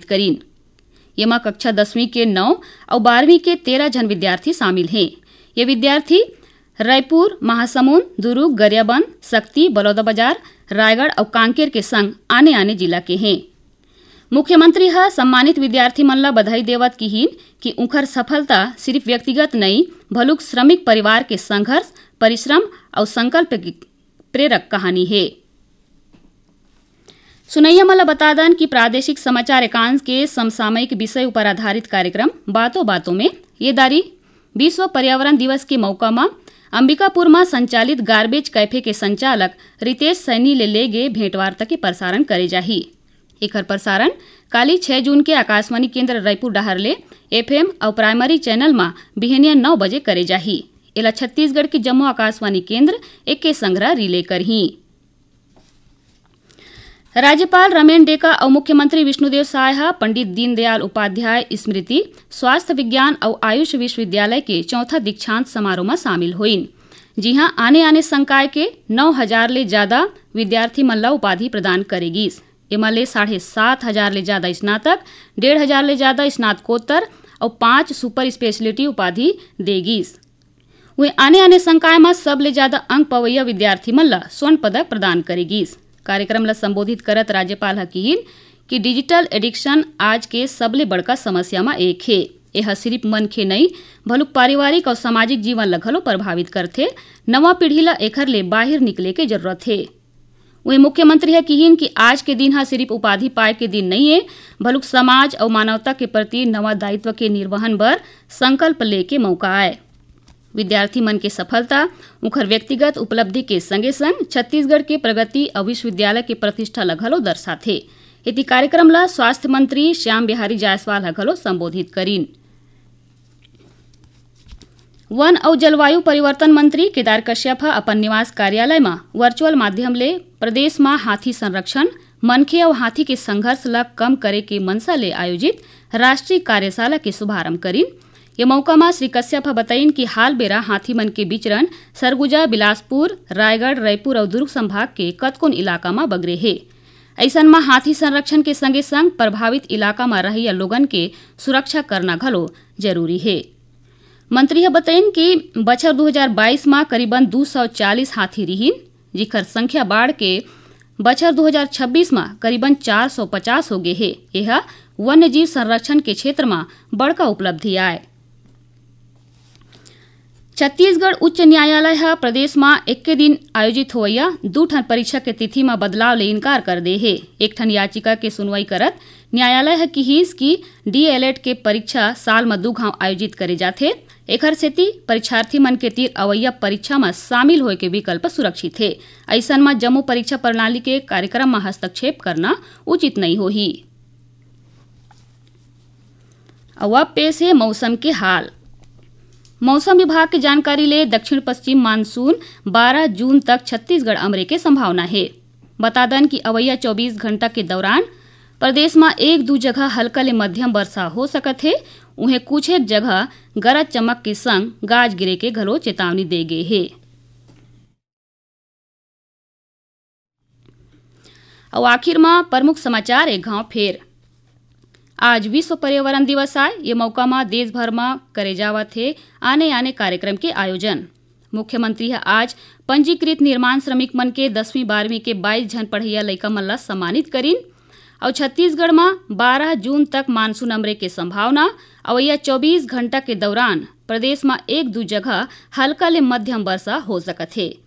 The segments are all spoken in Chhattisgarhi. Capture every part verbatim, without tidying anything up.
करिन। येमा कक्षा दसवीं के नौ अउ बारहवीं के तेरह झन विद्यार्थी शामिल हें। ये विद्यार्थी रायपुर, महासमुंद, दुरूग, गरियाबंद, सक्ती, बलौदाबाजार, रायगढ़ अउ कांकेर के संग आने-आने जिला के हें। मुख्यमंत्री ह सम्मानित विद्यार्थी मन ल बधाई देवत किहिन कि उंखर सफलता सिरिफ व्यक्तिगत नइ, भलुक श्रमिक परिवार के संघर्ष, परिश्रम अउ संकल्प के प्रेरक कहानी हे। सुनइया मन ल बता दन कि प्रादेशिक समाचार एकांश के समसामयिक विषय उपर आधारित कार्यक्रम बातों बातों में ये दारी विश्व पर्यावरण दिवस के मौका म अंबिकापुर म संचालित गार्बेज कैफे के संचालक रितेश सैनी ले लेगे भेंटवार्ता के प्रसारण करे जाही। एखर प्रसारण काली छह जून के आकाशवाणी केंद्र रायपुर डहार ले एफएम अउ प्राइमरी चैनल म बिहनिया नौ बजे करे जाही। एला छत्तीसगढ़ के जम्मो आकाशवाणी केंद्र एके संघरा रिले करही। राज्यपाल रमेन डेका अउ मुख्यमंत्री विष्णुदेव साय ह पंडित दीनदयाल उपाध्याय स्मृति स्वास्थ्य विज्ञान अउ आयुष विश्वविद्यालय के चौथा दीक्षांत समारोह म शामिल होइन, जिहां आने-आने संकाय के नौ हजार ले जादा विद्यार्थी मन ल उपाधि प्रदान करे गीस। एमा ले साढ़े सात हजार ले जादा स्नातक, डेढ़ हजार ले जादा स्नातकोत्तर अउ पांच सुपर स्पेशलिटी उपाधि दे गीस। उहें, आने-आने संकाय म सबले जादा अंक पवइया विद्यार्थी मन ल स्वर्ण पदक प्रदान करे गीस। कार्यक्रम ल संबोधित करत राज्यपाल ह किहिन कि डिजिटल एडिक्शन आज के सबले बड़का समस्या म एक हे। एह सिरिफ मनखे नइ, भलुक पारिवारिक अउ सामाजिक जीवन ल घलो प्रभावित करथे। नवा पीढ़ी ल एखर ले बाहिर निकले के जरूरत हे। उहें, मुख्यमंत्री ह किहिन कि आज के दिन ह सिरिफ उपाधि पाए के दिन नइ ए, भलुक समाज अउ मानवता के प्रति नवा दायित्व के निर्वहन बर संकल्प लेके मौका आय। विद्यार्थी मन के सफलता उंखर व्यक्तिगत उपलब्धि के संगे-संग छत्तीसगढ़ के प्रगति अउ विश्वविद्यालय के प्रतिष्ठा ल घलो दर्शाथे। एती कार्यक्रम ल स्वास्थ्य मंत्री श्याम बिहारी जायसवाल ह घलो संबोधित करिन। वन अउ जलवायु परिवर्तन मंत्री केदार कश्यप ह अपन निवास कार्यालय म वर्चुअल माध्यम ले प्रदेश म हाथी संरक्षण, मनखे अउ हाथी के संघर्ष ल कम करे के मंशा ले आयोजित राष्ट्रीय कार्यशाला के शुभारंभ करिन। ये मौका म श्री कश्यप ह बतइन कि हाल बेरा हाथी मन के विचरण सरगुजा, बिलासपुर, रायगढ़, रईपुर अउ दुर्ग संभाग के कतकोन इलाका म बगरे हे। अइसन म हाथी संरक्षण के संगे-संग प्रभावित इलाका म रहइया लोगन के सुरक्षा करना घलो जरूरी हे। मंत्री ह बतइन कि बछर दू हजार बाईस म करीबन दू सौ चालीस हाथी रिहिन, जिखर संख्या बाढ़ के बछर दू हजार छब्बीस म करीबन चार सौ पचास हो गे हे। एह वन्यजीव संरक्षण के क्षेत्र म बड़का उपलब्धि आय। छत्तीसगढ़ उच्च न्यायालय ह प्रदेश म एक्के दिन आयोजित होवइया दू ठन परीक्षा के तिथि म बदलाव ले इनकार कर दे हे। एक ठन याचिका के सुनवाई करत न्यायालय ह किहिस कि डीएलएड के परीक्षा साल म दू घांव आयोजित करे जाथे। एखर सेती परीक्षार्थी मन के तीर अवइया परीक्षा म शामिल होय के विकल्प सुरक्षित हे। अइसन म जम्मो परीक्षा प्रणाली के कार्यक्रम म हस्तक्षेप करना उचित नइ होही। अउ अब पेश हे मौसम के हाल। मौसम विभाग के जानकारी ले दक्षिण पश्चिम मानसून बारह जून तक छत्तीसगढ़ अमरे के संभावना हे। बता दन कि अवइया चौबीस घंटा के दौरान प्रदेश म एक दू जगह हल्का ले मध्यम वर्षा हो सकत हे। उहें, कुछ एक जगह गरज चमक के संग गाज गिरे के घलो चेतावनी दे गे हे। अउ आखिर म प्रमुख समाचार एक घांव फेर। आज विश्व पर्यावरण दिवस आय। ये मौका म देश भर म करे जावत हे आने-आने कार्यक्रम के आयोजन। मुख्यमंत्री ह आज पंजीकृत निर्माण श्रमिक मन के दसवीं बारहवीं के बाईस झन पढ़इया लइका मन ल सम्मानित करिन। अउ छत्तीसगढ़ म बारह जून तक मानसून अमरे के संभावना। अवइया चौबीस घंटा के दौरान प्रदेश म एक दू जगह हल्का ले मध्यम वर्षा हो सकत हे।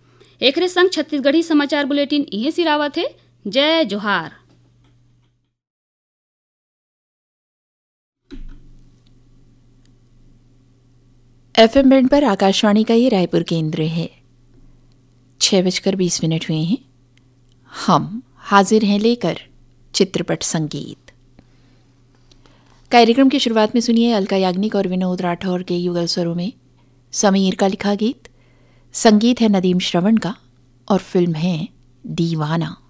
एखरे संग छत्तीसगढ़ी समाचार बुलेटिन इहें सिरावत हे। जय जोहार। एफएम बैंड पर आकाशवाणी का ये रायपुर केंद्र है। छः बजकर बीस मिनट हुए हैं। हम हाजिर हैं लेकर चित्रपट संगीत। कार्यक्रम की शुरुआत में सुनिए अलका याग्निक और विनोद राठौर के युगल स्वरों में समीर का लिखा गीत। संगीत है नदीम श्रवण का और फिल्म है दीवाना।